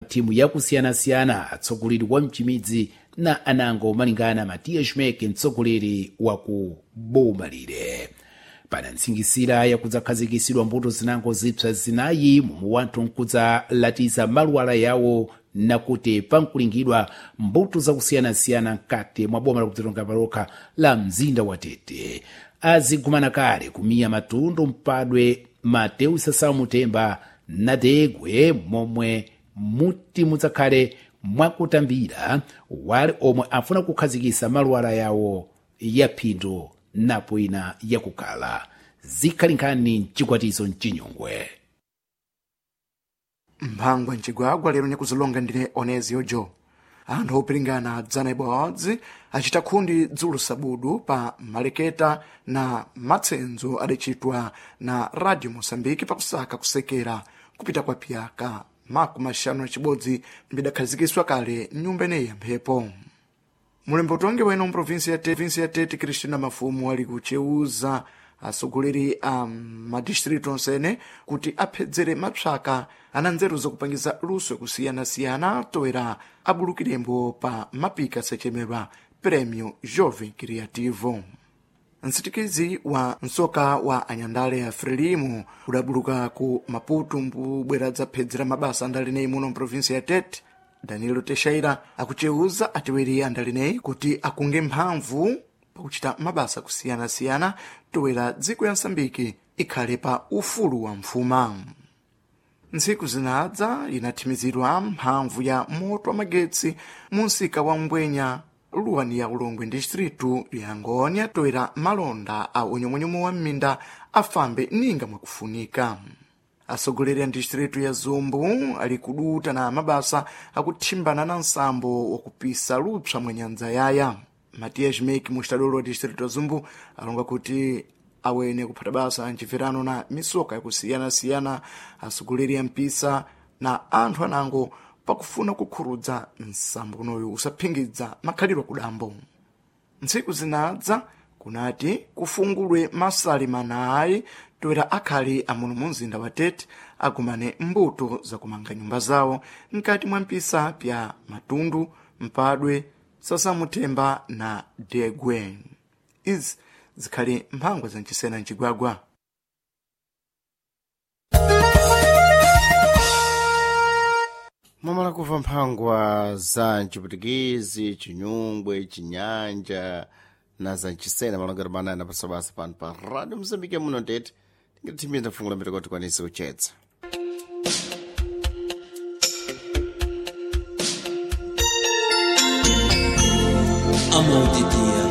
Timu yakusiyanasiyana, atsogoleri wa mchimidzi na anango, malingana Matias Meke, mtsogoleri wa ku boma lire. Pana ntsingisira yakudzakhazikisidwa mbuto zinango zipsa zinayi momwe wanthu nkudzalatiza maluwala yawo, nakuti pankulingidwa mbuto zakusiyanasiyana mkati mwa boma lakudzitonga palokha la mzinda wa Tete. Azigumana kale kumiya matundu mpadwe Mateu Sasao Mutemba na Degwe, momwe muti mudzakhale mwakutambira wale omwe afuna kukhazikisa maluwala yawo ya phindu napo ina yakukhala. Zikhali nkhani mchikwatizo mchinyungwe. Mphangwa mcigwagwa lero nyakuzilonga ndine Onezio Jo. Anthu opiringana dzana ibodzi acita khundi dzulo sabudu pa maleketa na matsenzo adacitwa na Radio Moçambique pakusaka kusekera kupita kwa piyaka 51 mbidakhazikiswa kale nyumba ineyi ya mphepo. Mulembo utongi weno mprovinsi ya Tete, ya Tete, Cristina Mafumu ali kuceuza atsogoleri a madistritu onsene kuti aphedzere mapsaka ana nzeru zakupangiza luso yakusiyanasiyana toera abulukirembo pa mapika sachemedwa Prêmio Jovem Criativo. Msitikizi wa msoka wa anyandale ya Frelimo udabuluka ku Maputo mbubwera dzaphedzera mabasa andaleneyi muno mprovinsi ya Tete. Danilo Teixeira akuceuza atiweri andaleneyi kuti akunge mphamvu pakuchita mabasa kusiyanasiyana toera dziko ya Msambiki ikhale pa ufulu wa mfuma. Ntsiku zinadza inathimizidwa mphamvu ya moto wa magetsi mu msika wa Ngwenya, luwani ya Ulongwe distritu ya Ngonya, toera malonda a unyomwenyomo wa mminda afambe ninga mwakufunika. Atsogoleri a distritu ya Zumbu ali kuduta na mabasa akuthimbana na nsambo wakupisa lupsa mwa nyanja yaya. Matias Mek, mustadolo wa distritu ya Zumbu, alonga kuti awene kuphata basa mchibverano na misoka yakusiyanasiyana, atsogoleri a mpisa na anthu anango pakufuna kukhurudza nsambo unoyu usaphingidza makhalidwe akudambo. Ntsiku zinadza kunati kufungulwe masali manayi toera akhali amuno mu mzinda wa Tete agumane mbuto zakumanga nyumba zawo mkati mwa mpisa pya Matundu, Mpadwe, Sasamuthemba na Degwe. Izi zikhali mphangwa zamchisena mcigwagwa. Mwamala kuva mphangwa za mchiputikizi, chinyungwe, chinyanja na za mchisena malongero manana pasabasa pano pa Radio Mozambique muno Tete. Tingatithimiza mfungulo mbiri kuti tikwanise kuchetsa. Amor de Deus.